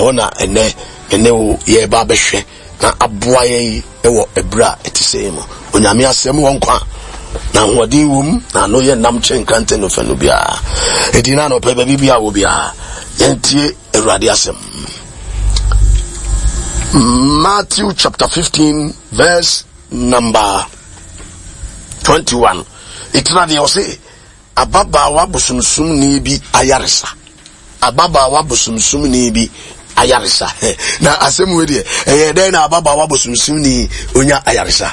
Ɛhɔ na ɛnɛ me ne wo yɛreba abɛhwɛ na aboa yɛn wɔ ɛberɛ a ɛte sɛɛ mu. Onyame asɛm wɔ nkwa na ahoɔden wɔ mu na ano yɛ nam kyɛn nkrantɛ no fɛ no biara. Enti na anɔpɛ baabi biara wɔ biara yɛntie Awurade asɛm. Matthew chapter 15 verse number 21. Ɛtena deɛ ɔse Ababaawa bosomsomni bi ayaresa. Ababaawa bosomsomni bi ayaresa. Na asɛm wei deɛ, ɛyɛ dɛn na ababaawa bosomsomni onya ayaresa?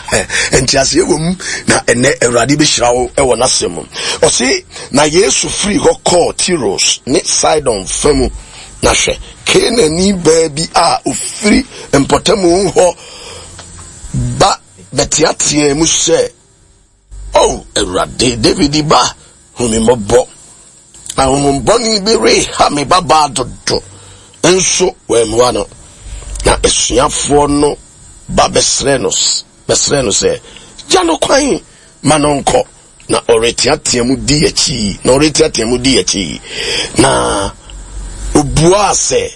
Nteaseɛ wɔ mu, na ɛnɛ Awurade bɛhyira wo wɔ n'asɛm mu. Ɔse, na Yesu firi hɔ kɔɔ Tiros ne Sidon fa mu, na hwɛ, Kanaanni baa bi a ɔfiri mpɔtamu hɔ ba bɛteateaa mu sɛ, O Awurade, Dawid ba, hu me mmɔbɔ. Ahonhommɔne bi reha me babaa dodo. Nso wammua no. Na asuafoɔ no ba bɛsrɛɛ no, bɛsrɛɛ no sɛ, Gya no kwan ma no nkɔ, na ɔreteatea mu di akyi, na ɔreteatea mu di akyi. Na obuaa sɛ,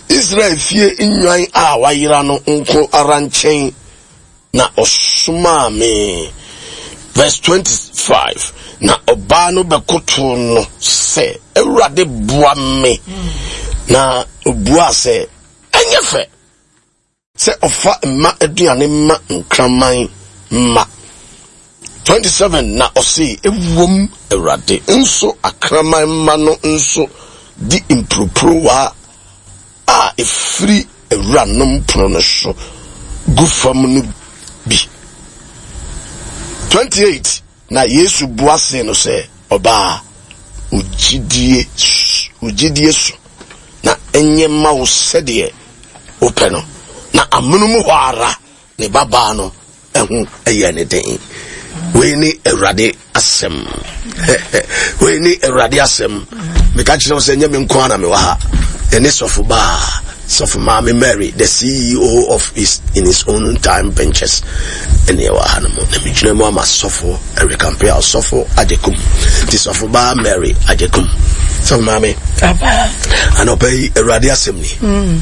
Israel fie nnwan a wɔayera no nko ara nkyɛn Na ɔsomaa me. Verse 25, Na ɔbaa no bɛkotoo no sɛ, Awurade, boa me. Na obuaa sɛ, Ɛnyɛ fɛ sɛ ɔfa mma aduane ma nkraman mma. 27 na ɔse, Ɛwom, Awurade, nso akraman mma no nso di mporoporowa a ɛfiri awuranom pono no so gu fam no bi. 28 na Yesu bua see no sɛ, Ɔbaa, wo gyidie, wo gyidie so, na ɛnyɛ mma wo sɛdeɛ wopɛ no. Na amonom hɔ ara Ne babaa no ho yɛɛ ne den. Wei ne Awurade asɛm. Wei ne Awurade asɛm. Meka kyerɛ wo sɛ nyɛ me nko ara na mewɔ ha. Ɛne sɔfo baa, sɔfo maame Mary, the CEO of his, in his own time ventures. Ɛne ɛwɔ ha no mu. Na megyina mu ama sɔfo Eric Ampea, sɔfo Agyekum. Nti sɔfo baa Mary Agyekum. Sɔfo maame. Anɔpa yi Awurade asɛm ni. Mm.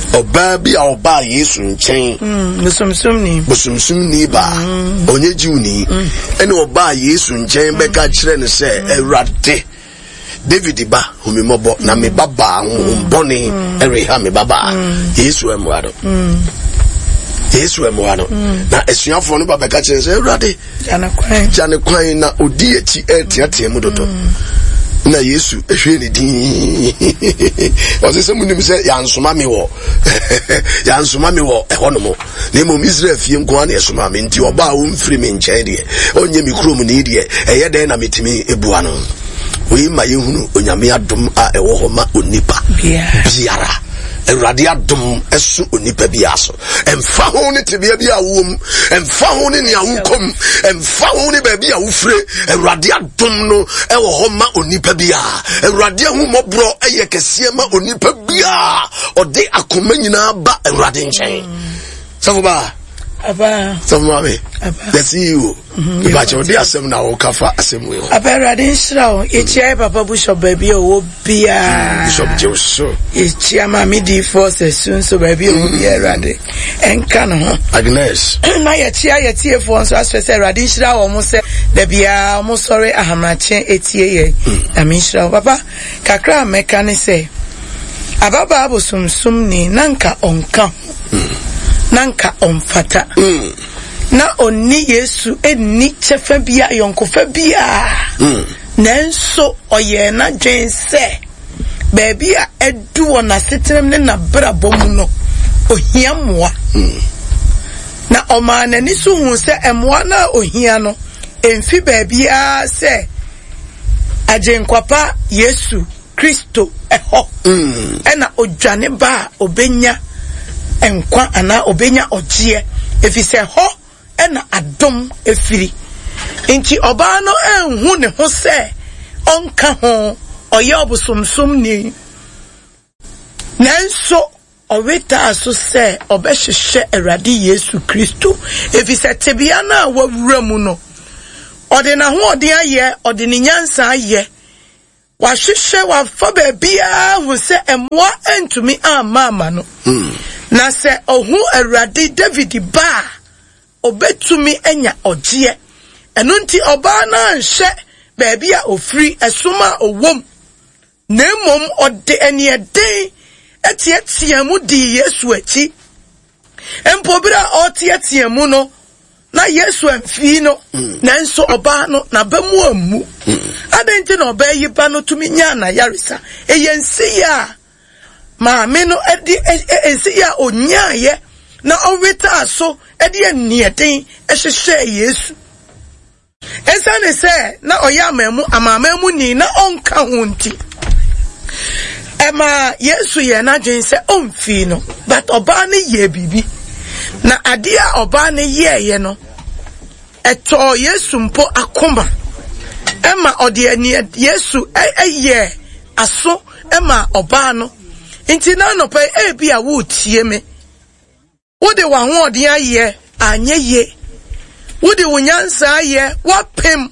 Ɔbaa bi a ɔbaa Yesu nkyɛn. Mm, bosomsomni. Bosomsomni baa. Mm. Ɔnyɛ Jiwni. Mm. Ɛna ɔbaa Yesu nkyɛn bɛka kyerɛ no sɛ, Awurade, David ba, hu me mmɔbɔ, na me ba baa honhom bɔne ɛreha me ba baa. Yesu ammua no. Yesu ammua no. Na asuafoɔ no ba bɛka kyerɛ no sɛ, Awurade, Gya ne kwan na odi akyi reteatea mu dodo. Na Yesu hwɛɛ ne din. Ɔsɛ sɛ munim sɛ yɛansoma me wɔ yɛansoma me wɔ ɛhɔnom. Na mmom Israel fie nko ara na ɛsoma me nti ɔba a ɔmfiri me nkyɛn deɛ ɔnyɛ me kurom ni deɛ ɛyɛ dɛn na metumi ebua no. Wei ma yɛhunu Onyame adom a ɛwɔ hɔ ma onipa biara. Awurade adom ɛso onipa biara so. Ɛmfa ho ne tebea bi a wowɔ mu, ɛmfa ho ne nea wokɔ mu, ɛmfa ho ne baabi a wofire, Awurade adom no ɛwɔ hɔ ma onipa biara. Awurade ahummɔborɔ ɛyɛ kɛseɛ ma onipa biara. Ɔde akoma nyinaa ba Awurade nkyɛn. Sɔfo baa. Sɔfo maame. The CEO. Ìbàkyɛ ɔde asɛm na ɔka fa asɛm wei ho. Papa Awurade nhyira wo. Yɛkyia yɛ papa Bishop baabi a ɔwɔ biara. Bishop gye wo so. Yɛkyia maame diifoɔ sɛ su nso baabi a ɔwɔ biara Awurade ɛnka ne ho. Agnes. Na yɛkyia yɛtiefoɔ nso asrɛ sɛ Awurade nhyira wɔn sɛ da biara wɔn sɔre ahamakye etie yɛn. Nyame nhyira wo. Papa kakra a mɛka ne sɛ ababaa bosomsomni na nka ɔnka ho. Na nka ɔmfata. Na ɔnni Yesu nni kyɛfa biara, ayɔnkofa biara. Mm. Nanso ɔyɛɛ n'adwene sɛ baabi a adu wɔ n'asetenam ne n'abrabɔ mu no, ohia mmoa. Mm. Na ɔmaa n'ani so huu sɛ mmoa no a ohia no mfi baabiara sɛ Agyenkwa pa Yesu Kristo hɔ na odwane ba a obenya nkwa anaa obenya ɔgyeɛ, efisɛ hɔ na adom firi. Nti ɔbaa no anhu ne ho sɛ ɔnka ho, ɔyɛ ɔbosomsomni. Nanso ɔwetaa so sɛ ɔbɛhwehwɛ Awurade Yesu Kristo, efisɛ tebea no a wawura mu no, ɔde n'ahoɔden ayɛ, ɔde ne nyansa ayɛ. Wahwehwɛ, wafa baabiara ahu sɛ mmoa antumi amma ama no. Na sɛ ɔhu Awurade David ba a, ɔbɛtumi anya ɔgyeɛ. Ɛno nti ɔbaa no anhwɛ baabi a ɔfiri, ɛsom a ɔwom, na mmom ɔde aniɛden teateaa mu dii Yesu akyi. Mpo bere a ɔreteatea mu no, na Yesu amfii no, mm. nanso ɔbaa no n'aba mu ammu. Mm. Adɛn nti na ɔbaa yi ba no tumi nyaa n'ayaresa? Ɛyɛ nsiyɛ a maame no de nsiyɛ a onyaayɛ na ɔwetaa so de aniɛden hyehyɛɛ Yesu. Esiane sɛ na ɔyɛ amanmu amanamanmuni na ɔnka ho nti, ɛmaa Yesu yɛɛ n'adwene sɛ ɔmfii no. But ɔbaa no yɛɛ biribi. Na adeɛ a ɔbaa no yɛeɛ no, ɛtɔɔ Yesu mpo akoma. Ɛma ɔde ani Yesu yɛɛ aso ma ɔbaa no. Nti na anɔpa yi, ebi a woretie me. Wode w'ahoɔden ayɛ, anyɛ yie. Wode wo nyansa ayɛ, woapem.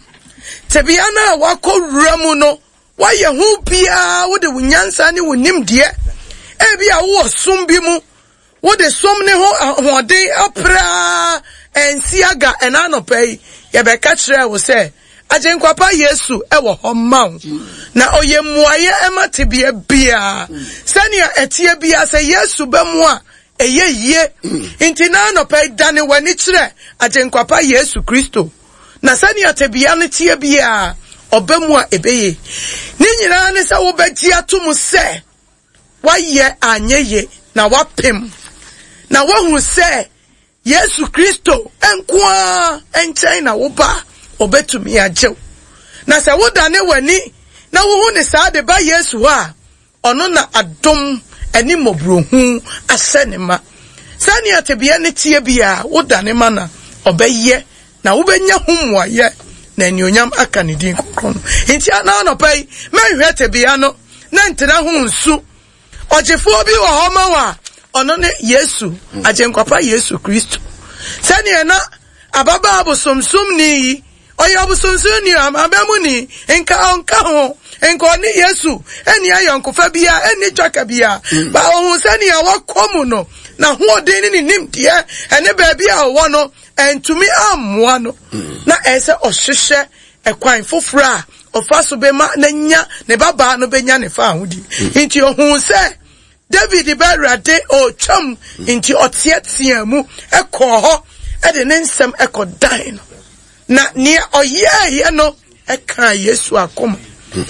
Tebea no a woakɔ wura mu no, woayɛ ho biara, wode wo nyansa ne wo nimdeɛ. Ebi a wowɔ som bi mu, wode som ne ho ahoɔden apere ara, ɛnsi aga. Ɛna anɔpa yi, yɛbɛka kyerɛɛ wo sɛ, Agyenkwa pa Yesu wɔ hɔ ma wo, na ɔyɛ mmuaeɛ ma tebea biara. Sɛnea ɛteɛ biara, sɛ Yesu ba mu a, Ɛyɛ yie. Nti na anɔpa yi dane w'ani kyerɛ Agyenkwa pa Yesu Kristo, na sɛnea tebea no teɛ biara, ɔba mu a ɛbɛye. Ne nyinaa ne sɛ wobɛgye ato mu sɛ woayɛ anyɛ ye na woapem, na woahu sɛ Yesu Kristo nko ara nkyɛn na woba a ɔbɛtumi agye wo. Na sɛ wodane w'ani na wohu ne saa de ba Yesu hɔ a, Ɔno na adom ne mmɔborɔhunu ahyɛ ne ma. Sɛnea tebea no teɛ biara, wodane ma no a, ɔbɛyɛ, na wobɛnya ho mmuaeɛ, na anuonyam aka ne din kronkron no. Nti ana anɔpa yi, mɛnhwɛ tebea no na ntena ho nsu. Ɔgyefoɔ bi wɔ hɔ ma wo a, ɔno ne Yesu, Agyenkwa pa Yesu Kristo. Sɛnea na ababaa bosomsomni yi Ɔyɛ ɔbosonsonni, amanamanmuni, nka ɔnka ho, nka ɔne Yesu nni ayɔnkofa biara, nni twaka biara. Mm. Ba ohun sɛnea wakɔ mu no, n'ahoɔden ne ne nimdeɛ ɛne baabi a ɔwɔ no, ɛntumi ammoa no. Mm. Na ɛyɛ sɛ ɔhyehyɛ ɛkwan foforɔ a ɔfa so bɛma n'anya ne babaa no bɛnya ne fa ahodi. Mm. Nti ohun sɛ David ba Awurade ɔretwam nti ɔteɛteɛɛ mu kɔɔ hɔ de ne nsɛm kɔdan no. Na nea ɔyɛeɛ no kaa Yesu akoma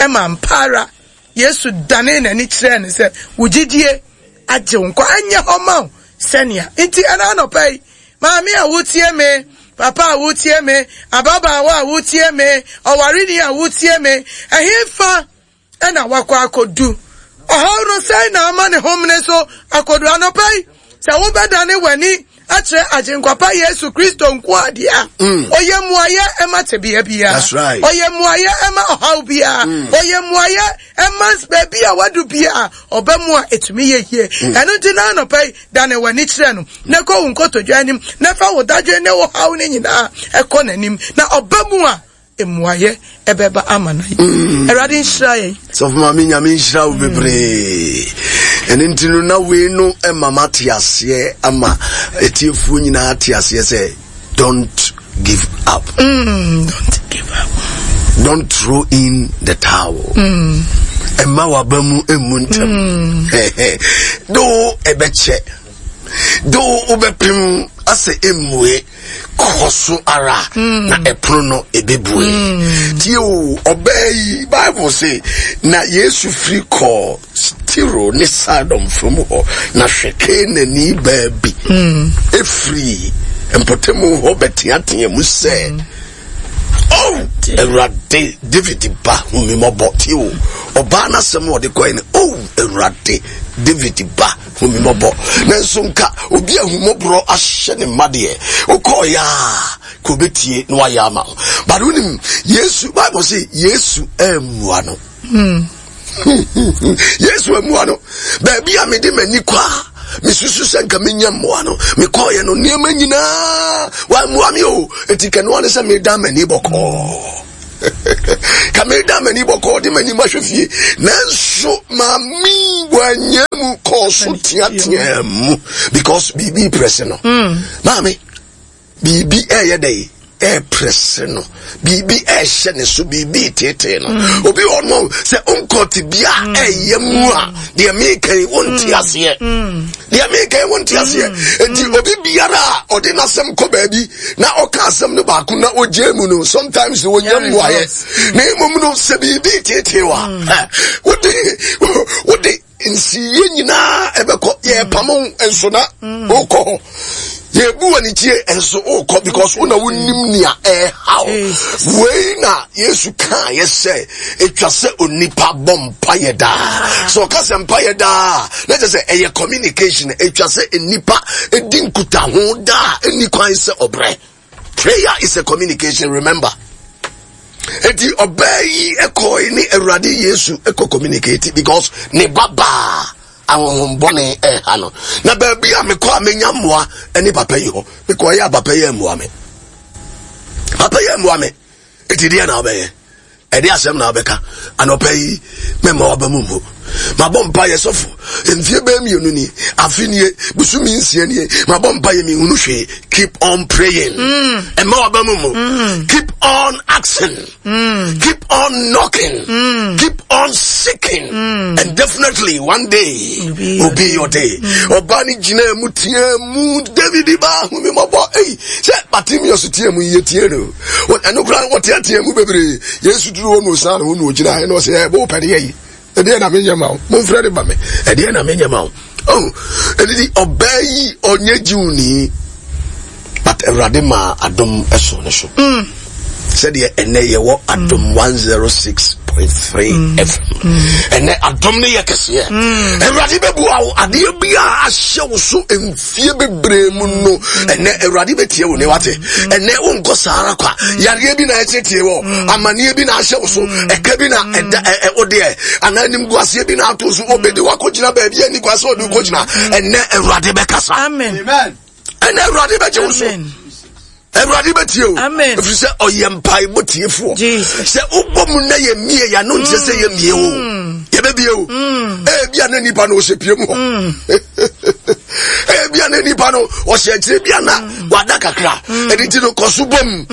ma ampa ara Yesu danee n'ani kyerɛɛ no sɛ, wo gyidie agye wo nkwa, ɛnyɛ hɔ ma wo sɛnea. Nti ɛna anɔpa yi, maame a wotie me, papa a wotie me, ababaawa a wotie me, ɔwareni a wotie me, ɛhefa na wakɔ akɔdu. Ɔhaw no sɛn na ama ne homene so akɔdu anɔpa yi? Sɛ wobɛdane w'ani akyerɛ Agyenkwa pa Yesu Kristo nko a deɛ a, mm. ɔyɛ mmuayɛ ɛma tebea biara. Ɔyɛ mmuayɛ ɛma ɔhaw biara. Mm. Ɔyɛ mmuayɛ ɛma baabi a wadu biara ɔba mu a ɛtumi yɛ yie. Mm. Ɛno nti na anɔpa yi dane w'ani kyerɛ no na kɔ wo nkotodwe anim na fa wo dadwen ne wo haw no nyinaa ɛkɔ n'anim na ɔba mu a mmuayɛ ɛbɛba ama no mm. Awurade nhyira yɛn. Sɔfo maame Nyame nhyira wo bebree. Ɛno nti no na wei no ɛma mate aseɛ ama atiefoɔ nyinaa te aseɛ sɛ don't give up. Don't give up. Don't throw in the towel. Ɛma waba mu emu ntɛm. Do ɛbɛkyɛ. Do wobɛpem asɛ emue. Kɔ so ara mm. na ɛpono no ɛbɛbue. Mm. Tie o, ɔbaa yi, Bible se, na Yesu firi kɔɔ Tiro ne Sidon fam hɔ, na hwɛ Kanaani baa bi mm. ɛfiri mpɔtamu hɔ bɛteatea mu sɛ, mm. Oh, Awurade, David ba, hu me mmɔbɔ. Tie o, ɔbaa no asɛm a ɔde kɔe no, Oh, Awurade, David ba, hu me mmɔbɔ. Nanso nka obi a ahummɔborɔ ahyɛ ne mma deɛ, wokɔɔeɛ a, ka obetie na wayɛ ama wo. But wonim, Yesu, Bible se, Yesu ammua no. Hmm. Yesu ammua no. Baabi a mede m'ani kɔ a, mesusu sɛ nka menya mmoa no, mekɔɔeɛ no, nneɛma nyinaa, wammua me o. Enti kɛnoa ne sɛ meda m'ani bɔkɔɔ. Ka meda m'ani bɔkɔɔ de m'anim ahwɛ fie. Nanso maame wanyɛ mu kɔɔ so teateaa mu because biribi prɛse no. Maame, biribi ɛyɛ dɛ ɛɛprɛse no, biribi ɛɛhyɛ ne so, biribi teetee no. Obi wɔ no sɛ nkɔte bi a ɛyɛ mu a, deɛ meka yi wonte aseɛ. Deɛ meka yi wonte aseɛ. Enti obi biara a ɔde n'asɛm kɔ baabi na ɔka asɛm no baako na ogye mu no, sometimes wɔnya mmuaeɛ. Na mmom no, sɛ biribi teetee wa, wode wode nsiyɛ nyinaa ɛbɛkɔ. Yɛpamo nso na wokɔ hɔ, yɛbu wɔ ne tie nso wokɔ, because wo na wonim nea ɛhaw. Wei na Yesu kaa yɛ sɛ ɛtwa sɛ onipa bɔ mpayɛ daa. Sɛ ɔka sɛ mpayɛ daa, na kyerɛ sɛ ɛyɛ communication. Ɛtwa sɛ nnipa ɛdi nkutaho daa, ɛnni kwan sɛ ɔbrɛ. Prayer is a communication, remember. Eti ɔbaa yi ɛkɔe ne Awurade Yesu ɛkɔ communicate because ne ba baa ahohombɔne ɛha no. Na baabi a mekɔ a menya mmoa ɛne papa yi hɔ. Mekɔ yɛ a papa yi mmoa me. Papa yi mmoa me. Eti deɛ na ɔbɛyɛ? Ɛde asɛm na wobɛka anɔpa yi, mɛma waba mu mmu. Mabɔ mpa yɛ sɔfo mfie bɛyɛ 2 ni, afe nie, bosome 6 nie, mabɔ mpa yɛ mehunu hwee. Keep on praying. Ɛma waba mu mu. Keep on asking. Keep on knocking. Keep on seeking. And definitely one day will be your day. Ɔbaa ne gyina mu teɛ mu, David ba, hu me mmɔbɔ. Ei, sɛ Bartimaeus teɛ mu yɛ tie no. Ɛno koraa wɔteatea mu bebree. Yesu duru hɔ na ɔsan ne ho na ɔgyina hɛ na ɔsɛ, ɛ wopɛ deɛ yi, ɛdeɛ na menyɛ ma wo? Momfrɛ ne ba me, ɛdeɛ na menyɛ ma wo? Oh, ɛdidi ɔbaa yi ɔnyɛ Jewni, but Awurade maa adom ɛso ne so. Sɛdeɛ ɛnɛ yɛwɔ Adom 106.3 FM. Ɛnɛ adom no yɛ kɛseɛ. Awurade bɛbua wo adeɛ bi a ahyɛ wo so mfie bebree mu no. Ɛnɛ Awurade bɛtie wo ne wate. Ɛnɛ wonkɔ saa ara kwa. Yareɛ bi na ɛteetee wɔ, amanneɛ bi na ahyɛ wo so, ɛka bi na ɛda ɛ wo deɛ, anaa animguaseɛ bi na ato so. Obi de wakɔgyina baabi a nni kwan sɛ ɔde wokɔgyina. Ɛnɛ Awurade bɛkasa. Ɛnɛ Awurade bɛgye wo so. Awurade bɛtie o, ɛfiri sɛ ɔyɛ mpaebɔ tiefoɔ. Sɛ wobɔ mu na yɛmmie yɛano nkyerɛ sɛ yɛmmie o, yɛbɛbie o. Ebia na nipa no ɔhyɛ pie mu hɔ, ebia na nipa no ɔhyɛ akyire, bia na wada kakra. Ɛno nti no, kɔ so bɔ mu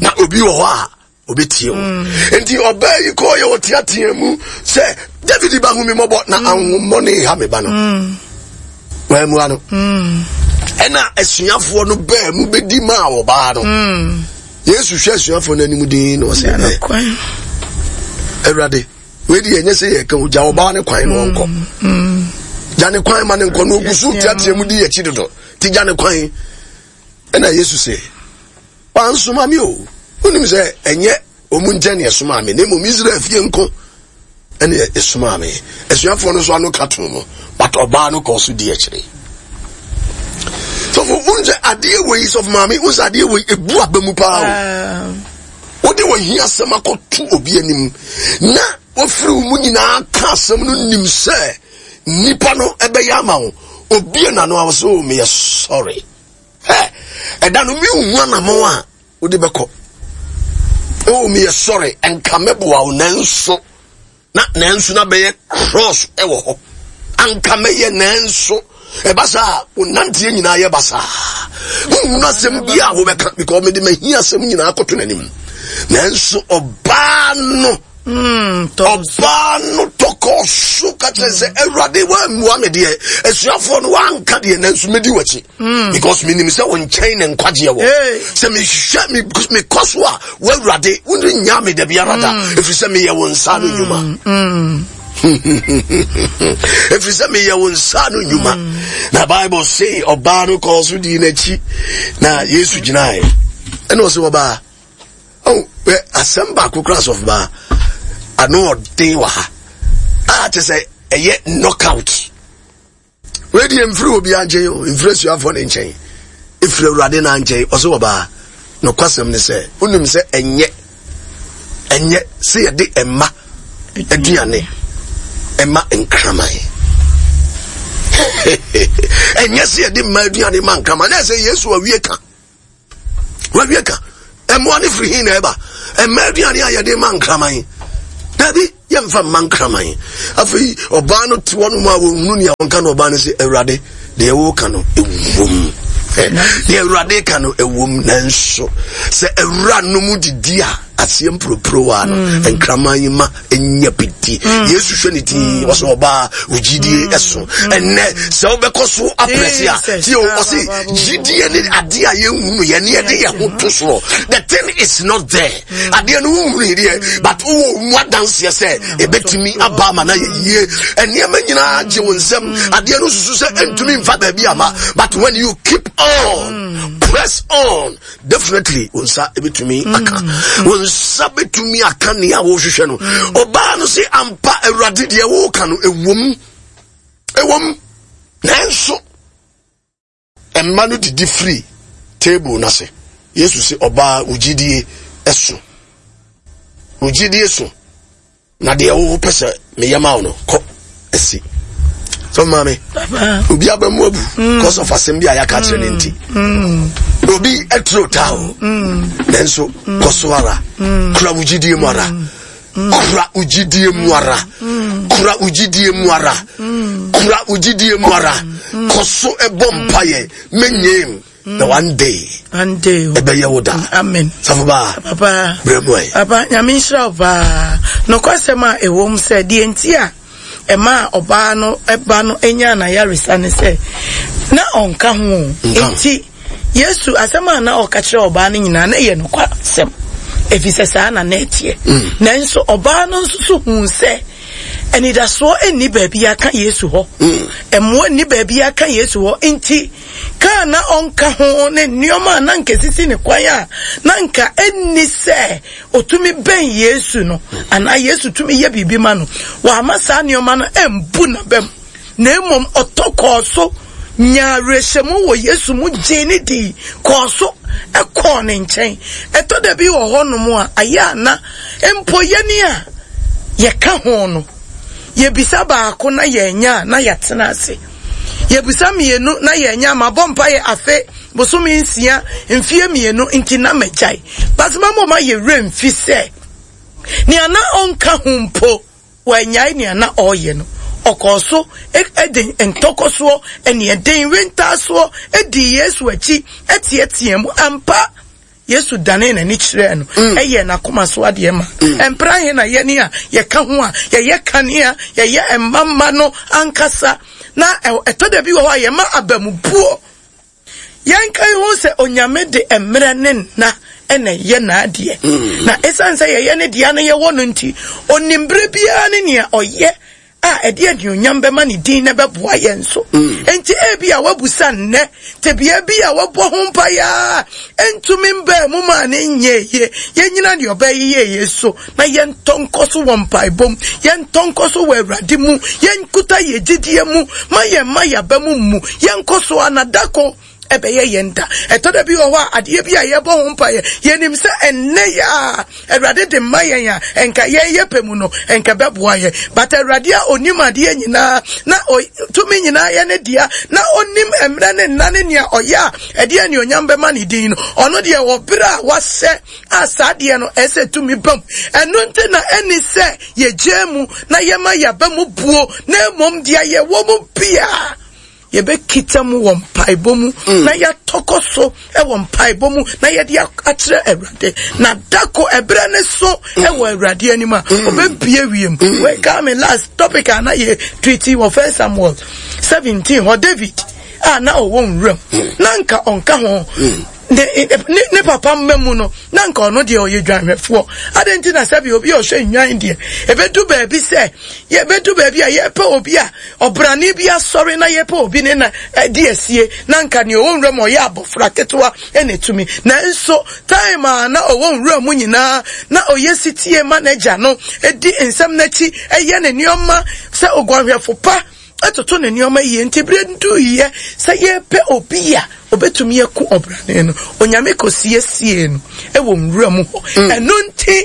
na obi wɔ hɔ a obetie wo. Nti ɔbaa yi kɔɔ yɛ ɔteatea mu sɛ, David ba, hu me mmɔbɔ na ahohommɔne ha me ba no. Wɔamua no. Ɛna asuafoɔ no baa mu bɛdi maa ɔbaa no. Yesu hwɛ asuafoɔ no anim din na ɔsɛ, ɛ Awurade, wei deɛ ɛnyɛ sɛ yɛka o, gya ɔbaa no kwan na ɔnkɔ. Gya ne kwan ma ne nkɔ na ɔgu so teatea mu di akyi dodo, nti gya ne kwan. Ɛna Yesu sɛ, wansoma me o, wonim sɛ ɛnyɛ ɔmu nkyɛn ne ɛsomaa me, na mmom Israel fie nko ɛne ɛsomaa me. Asuafoɔ no nso ano ka too no, but ɔbaa no kɔɔ so di akyire. Sɔfo, wohu sɛ adeɛ wei, sɔfo maame, wohu sɛ adeɛ wei ebu aba mu paa o. Wode wɔ hia asɛm akɔto obi anim na wafiri wo mu nyinaa ka asɛm no, nim sɛ nipa no ɛbɛyɛ ama wo. Obi na no a wɔsɛ, oh, meyɛ sorry. Ɛ ɛda no mehu anamɔn a wode bɛkɔ. Oh, meyɛ sorry, nka mɛboa wo, nanso na nanso na bɛyɛ cross ɛwɔ hɔ. Anka mɛyɛ nanso ɛba saa, wo nanteɛ nyinaa yɛ basaa. Wohunu asɛm bi a wobɛka because mede mahia asɛm nyinaa kɔto n'anim. Nanso ɔbaa no ɔbaa no tɔkɔ so ka kyerɛ sɛ, Awurade, woammua me deɛ, asuafoɔ no woanka deɛ, nanso mɛdi w'akyi because menim sɛ wo nkyɛn ne nkwagyeɛ wɔ. Sɛ mehwehwɛ mekɔ so a, woawurade worennya me da biara da, ɛfiri sɛ meyɛ wo nsa no nnwuma, ɛfiri sɛ meyɛ wo nsa no nnwuma. Na Bible se ɔbaa no kɔɔ so dii n'akyi na Yesu gyinaeɛ ɛna ɔsɛ ɔbaa, oh, asɛm baako kora, asɔfo baa, ano ɔden wɔ ha a kyɛ sɛ ɛyɛ knockout. Wei deɛ mfiri obiara nkyɛn o, mfiri asuafoɔ ne nkyɛn, ɛfiri Awurade na nkyɛn. Ɔsɛ ɔbaa, nokwasɛm ne sɛ wonim sɛ ɛnyɛ sɛ yɛde ɛma aduane ɛma nkraman. Ɛnyɛ sɛ yɛde mma aduane ma nkraman. Na ɛsɛ Yesu awie ka, wawie ka. Mmoa no firi he na ɛba? Mma aduane a yɛde ma nkraman. Dabi, yɛmfa mma nkraman. Afei ɔbaa no te hɔnom a wɔnhunu nea ɔnka no ɔbaa no sɛ, Awurade, deɛ woka no ɛwom. Deɛ Awurade ka no ɛwom nanso sɛ awura no mu didi a aseɛ mpuropurowa no mm. nkraman yi ma nya bi di mm. Yesu hwɛ ne din mm. ɔsɛ ɔbaa wo gyidie ɛso ɛnɛ sɛ wobɛkɔ so aprɛse a tie o ɔse gyidie ne adeɛ a yɛnhunu yɛ ne yɛde yɛ ho to soɔ. The thing is not there, adeɛ no wonhunu deɛ, but wowɔ mu adanseɛ sɛ ɛbɛtumi aba ama no ayɛ yie. Nneɛma nyinaa gye wo nsɛm, adeɛ no susu sɛ ɛntumi mfa baabi ama, but when you keep on, press on, definitely wo nsa bɛtumi mm. aka, wo nsa bɛtumi aka nea wohwehwɛ no. Ɔbaa no se ampa Awurade, deɛ woka no ɛwom, ɛwom, nanso mma no didi firi table no ase. Yesu se ɔbaa, wo gyidie ɛso, wo gyidie so, na deɛ wopɛ sɛ meyɛ ma wo no kɔ asi so. Maame, obi aba mu abu because of asɛm bi a yɛaka kyerɛ no nti mm. obi aturo taa o mm. nanso kɔ so ara kura wo gyidie mu ara, kura wo gyidie mu ara, kura wo gyidie mu ara, kura wo gyidie mu ara, kɔ so ɛbɔ mpayɛ menyem na one day, one day ɛbɛyɛ wo da. Amen. Safo baa. Papa. Brɛ mu ɛ. Papa, Nyame nhyira wo paa. Nokwasɛm a ɛwɔ mu sɛ deɛ nti a ɛmaa ɔbaa no ba no nyaa n'ayaresa ne sɛ na ɔnka ho. Nti Yesu asɛm a na ɔka kyerɛ ɔbaa no nyinaa na ɛyɛ nokwasɛm, ɛfiri sɛ saa na na ɛteɛ. Nanso ɔbaa no nso so huu sɛ anidasoɔ nni baabi aka Yesu hɔ, mmoa nni baabi aka Yesu hɔ, nti ka a na ɔnka ho ne nneɛma a na anka esisi ne kwan a na anka enni sɛ otumi bɛn Yesu no anaa Yesu tumi yɛ biribi ma no. Wamma saa nneɛma no ambu n'abam, na mmom ɔtɔ kɔɔ so nyaa awerɛhyɛmu wɔ Yesu mu, gyee ne dii, kɔɔ so kɔɔ ne nkyɛn. Ɛtɔ da bi wɔ hɔnom a, ayɛ a na mpo yɛn a yɛka ho no, yɛbisa baako na yɛanya a, na yɛatena ase. Yɛbisa mmienu na yɛanya. Mabɔ mpaeɛ afe, bosome 6, mfeɛ 2 nti na magyae. But mama ɔma yɛ werɛ mfi sɛ nea na ɔnka ho mpo, wannyae nea na ɔreyɛ no. Ɔkɔɔ so de ntɔkɔsoɔ, aniɛden, wentaasoɔ dii Yesu akyi teɛteɛɛ mu. Ampa, Yesu danee n'ani kyerɛɛ no, ɛyɛɛ n'akoma so adeɛ ma. Mpra he na yɛne a yɛka ho a yɛyɛ kanea, yɛyɛ mma mma no ankasa, na ɛtɔ da bi wɔ hɔ a yɛma abamubuo. Yɛnka ho sɛ Onyame de mmerɛ ne nna na ɛyɛ n'adeɛ. Na esiane sɛ yɛyɛ ne dea na yɛwɔ no nti, onim berɛ biara ne nea ɔyɛ a ɛde anuonyam bɛma ne din na ɛbɛboa yɛn nso. Enti ebia woabusa nnɛ tebea bi a wɔbɔ ho mpaeɛ a ɛntumi mbaa mu maa ne nyɛɛ yie. Yɛnyina deɛ ɔbɛyɛ yie so na yɛntɔ nkɔ so wɔ mpaebɔ mu, yɛntɔ nkɔ so wɔ Awurade mu, yɛnkuta yɛn gyidie mu, ma yɛn mma yɛn aba mu mmu, yɛnkɔ so ara na da ko ɛbɛyɛ yɛn da. Ɛtɔ da bi wɔ hɔ a, adeɛ bi a yɛbɔ ho mpaeɛ, yɛnim sɛ ɛnnɛ yɛ a Awurade de ma yɛn a, ɛnka yɛn yɛ pɛ mu no, ɛnka ɛbɛboa yɛn. But Awurade a ɔnim adeɛ nyinaa, na tumi nyinaa yɛ ne dea, na ɔnim mmerɛ ne nna ne nea ɔyɛ a ɛde anuonyam bɛma ne din no, ɔno deɛ wɔ berɛ a wahyɛ a saa adeɛ no ɛsɛ tumi bam. Ɛno nti na ɛni sɛ yɛgyaa mu na yɛma yɛaba mu buo, na mmom deɛ yɛwɔ mu biara yɛbɛkita mu wɔ mpaebɔ mu mm. na yɛatɔkɔ so wɔ mpaebɔ mu na yɛde akyerɛ Awurade, na dako ɛberɛ ne so mm. wɔ Awurade anim a mm. ɔbɛbie wiem. Weka me last topic a na yɛ treaty wɔ First Samuel 17 hɔ, David a na ɔwɔ nwuram na nka ɔnka ho ne ne ne papa mma mu no, na nka ɔno deɛ ɔyɛ dwanhwɛfoɔ. Adɛn nti na sɛbi obi a ɔhwɛ nnwan deɛ, ɛbɛdu baabi sɛ yɛbɛdu baabi a yɛpɛ obi a ɔbrane bi asɔre na yɛpɛ obi ne na ɛdi asie, na nka nea ɔwɔ nwura mu ɔyɛ abɔfra ketewa ɛna ɛtumi. Nanso time a na ɔwɔ nwura mu nyinaa na ɔyɛ sitie ma n'agya no, ɛdi nsɛm n'akyi, ɛyɛ ne nneɛma sɛ oguanhwɛfo pa, toto ne nneɛma yie. Nti berɛ duiɛ sɛ yɛpɛ obi a obɛtumi aku ɔbrane no, Onyame kɔsiesiee no wɔ nwura mu hɔ. Ɛno nti.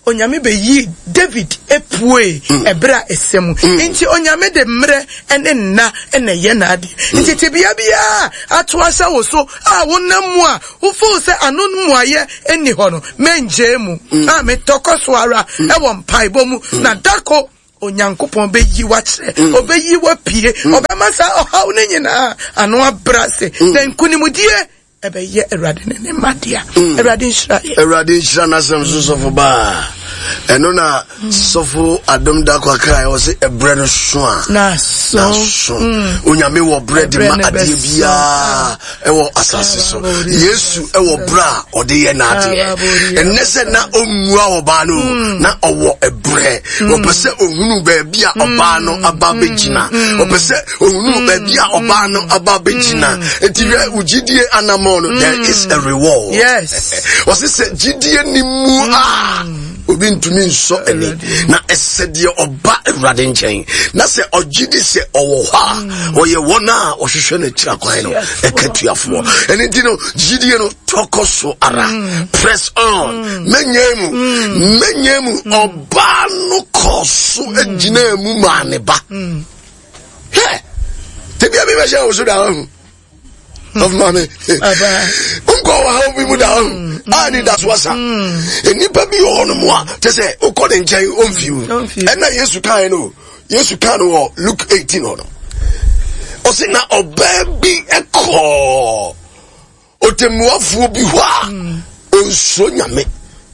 Onyame bɛyii David puee ɛberɛ a ɛsɛ mu. Nti Onyame de mmerɛ ne nna na ɛyɛ n'adeɛ. Nti tebea biara a ato ahyɛ wo so a wonam mu a wo feel sɛ ano mmuaeɛ nni hɔ no, mɛngyae mu. A metɔ kɔ so ara wɔ mpaebɔ mu na dako Onyankopɔn bɛyi wo akyerɛ, ɔbɛyi wo apue, ɔbɛma saa ɔhaw no nyinaa ano abrɛ ase, na nkonimdie ɛbɛyɛ Awurade ne ne mma dea. Awurade nhyira yɛ. Awurade nhyira n'asɛm so sɔfo baa. Ɛno na sɔfo Adom Dakwa kae wɔ se ɛbrɛ no so a n'aso. Onyame wɔ brɛ de ma adeɛ biara ɛwɔ asase so. Yesu ɛwɔ brɛ a ɔde yɛ n'adeɛ. Ɛnnɛ sɛ na ɔmmua ɔbaa no mm. na ɔwɔ ɛbrɛ. Ɔpɛ sɛ ɔhunu baabi a ɔbaa no aba bɛgyina. Ɔpɛ sɛ ohunu mm. baabi a ɔbaa no aba bɛgyina mm. nti hwɛ wo gyidie anammɔn no there is a reward. Yes. Ɔse sɛ gyidie ni mu a obi ntumi nsɔ ani na ɛsɛ deɛ ɔba Awurade nkyɛn na sɛ ɔgye di sɛ ɔwɔ hɔ a ɔyɛ wɔn a ɔhwehwɛ no akyira kwan no ɛka tuafoɔ. Ɛno nti no gyidie no tɔkɔ so ara, press on, mɛnyɛ mu mɛnyɛ mu. Ɔbaa no kɔɔ so gyinaa mu maa ne ba. Hwɛ, tebea bi bɛhyɛ wo so da wahu. Ɔfo maame, nkɔ wɔ ha bi mu da wahu. A ne da so asa. Nnipa bi wɔ hɔ nom a, kyɛ sɛ wokɔ ne nkyɛn ɔmfi wo. Ɛna Yesu kae no, Yesu kaa no wɔ Luke 18 hɔ no. Ɔse na ɔbaa bi kɔɔ Ɔtɛmmuafoɔ bi hɔ a ɔnsuro Nyame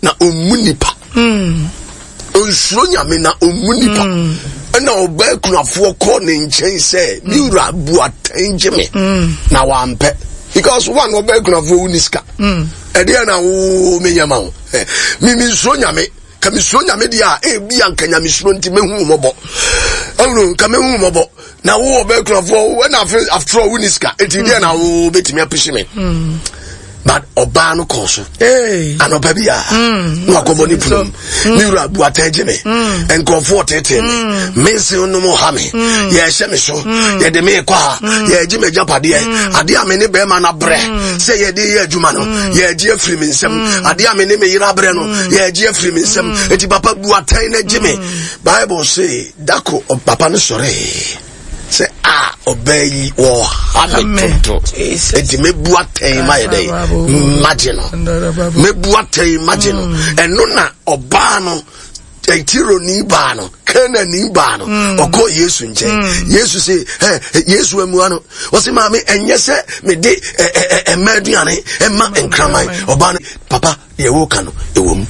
na ɔmmu nipa. Ɔnsuro Nyame na ɔmmu nipa. Ɛna ɔbaa kunafoɔ kɔɔ ne nkyɛn sɛ, me wura bu atɛn gye me. Na wampɛ. Because one, ɔbaa kunafoɔ wo ni sika. Ɛdeɛ na wo menyɛ ma wo. Me mensuro Nyame. Ka mesuro Nyame deɛ a, ebi a nka nyamesuro nti mɛhu wo mmɔbɔ. Ɛwuro, nka mɛhu wo mmɔbɔ. Na wo ɔbɛ kurafoɔ, ɛna afe after all wo ni sika. Eti deɛ na wo bɛtumi apehye me. But ɔbaa no kɔɔ so. Anɔpa bi a, mm. na wakɔbɔ ne pono mu. Mm. Me wura bu atɛn gye me. Mm. Nkurɔfoɔ tetee me. Me nse nom ha me. Yɛhyɛ me so. Yɛde me kɔ ha. Yɛgye me agyapadeɛ. Adeɛ a me ne bɛrima no abrɛ sɛ yɛde yɛ adwuma no, yɛgye afiri me nsam. Adeɛ a me ne me yere abrɛ no, yɛgye afiri me nsam. Eti papa bu atɛn na gye me. Bible se dako papa no sɔree sɛ a ɔbaa yi wɔha me toto, enti mɛbu atɛn ma yɛ dɛn magye no, mɛbu atɛn magye no. Ɛno na ɔbaa no, Tironi baa no, Kanaani baa no, ɔkɔɔ Yesu nkyɛn. Yesu se, ɛ Yesu amua no, ɔse maame, ɛnyɛ sɛ mede ɛmma aduane ɛma nkraman. Ɔbaa no, papa, deɛ woka no ɛwɔ mu,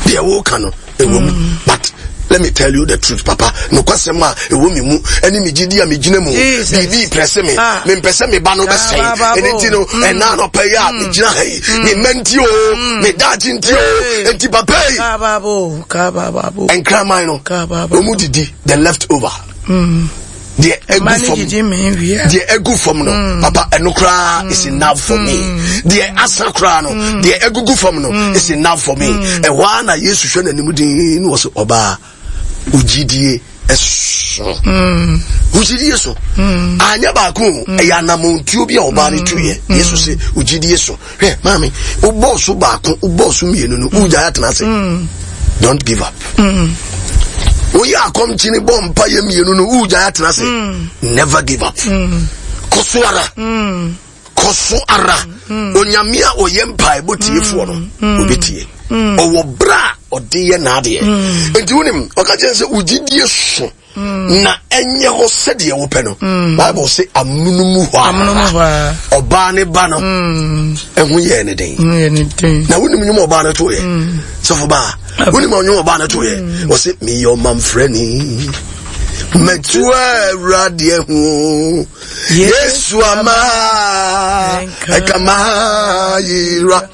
deɛ woka no ɛwɔ mu, but let me tell you the truth, papa, nokwasɛm a ɛwɔ me mu ɛne me gyidi a megyina mu, biribi prɛse me, mempɛ sɛ me ba no bɛsɛe. Ɛno nti no, ɛna anɔpa yi a megyina ha yi, me mma nti o, me daakye nti o, nti papa yi, nkraman no wɔn didi the left over, deɛ egu fam, deɛ egu fam no, papa, ɛno koraa is enough for me. Deɛ asa koraa no, deɛ egugu fam no is enough for me. Ɛhɔ ara na Yesu hwɛ n'anim din na ɔsɛ, ɔbaa, ogyidie ɛso, ogyidie so. Anyɛ baako o, ɛyɛ anamontuo bi a ɔbaa no tuiɛ. Yesu sɛ ogyidie so. Hwɛ maame, wobɔɔ so baako, wobɔɔ so mmienu no, wogyae atena ase. Don't give up. Woyɛ akɔmkyini bɔ mpa yɛ mmienu no, wogyae atena ase. Never give up. Kɔ so ara. Kɔ so ara. Onyame a ɔyɛ mpaebɔ tiefoɔ no, obɛtie. Ɔwɔ berɛ a ɔde yɛ n'adeɛ. Enti wonim, ɔka kyerɛ sɛ wogyidie so na ɛnyɛ hɔ sɛdeɛ wopɛ no. Bible se amonomu hɔ ara ɔbaa ne ba no ɛho yɛɛ ne den. Na wonim nwom ɔbaa no toeɛ? Sɔfo baa, wonim ɔnwom ɔbaa no toeɛ? Ɔse meyɛ ɔmamfrani, matu Awurade ho, Yesu ama ɛkama yera.